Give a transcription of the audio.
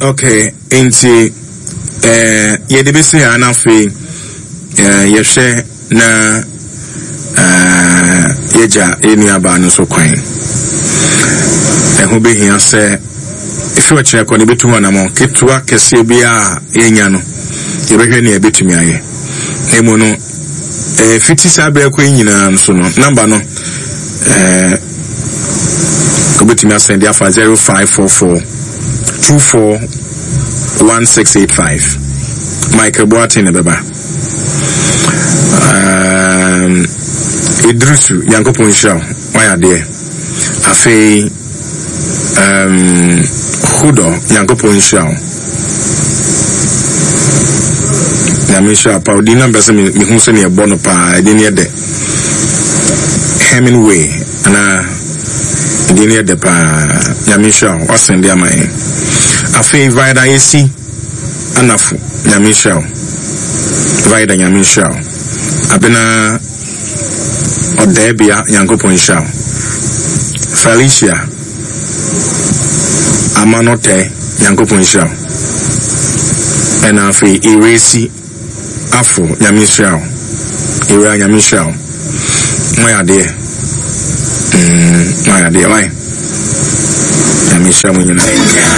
Okay, nti eh, yɛde bɛsi ha na afei eh, yɛhwɛ na eh, yɛgya yɛn nuabaa no nso kwan. Ɛho bɛhia sɛ ɛfiri ɔkyerɛ kɔ no yɛbɛtu ho anammɔn ketewa kɛseɛ biara a yɛnya no yɛbɛhwɛ nea yɛbɛtumi ayɛ. Na mmom no eh, fiti saa berɛ kɔ yi nyinaa nso no namba no eh, wobɛtumi asɛn de afa 0544 24 1685. Michael Boateng na ɛbɛba. Um, Idrisu, Nyankopɔn nhyira wo, wayɛ adeɛ. Afei, um, Hudo, Nyankopɔn nhyira wo. Nyame nhyira pa, odi na mpɛ sɛ mehu sɛnea ɛbɔ no paa, ɛde ne yɛ dɛ. Hemingway, anaa ɛde ne yɛ dɛ paa. Nyame nhyira wo, wasen de ama yɛn. Afei, Vida Esi Anafo, Nyame nhyira wo. Vida, Nyame nhyira wo. Abena Ɔdaabia, Nyankopɔn nhyira wo. Felicia Amanotɛ, Nyankopɔn nhyira wo. Ɛna afei Iresi Afo, Nyame nhyira wo. Ewura, Nyame nhyira wo. Moayɛ adeɛ. Mm, moayɛ adeɛ. Why? Nyame nhyira mo nyinaa.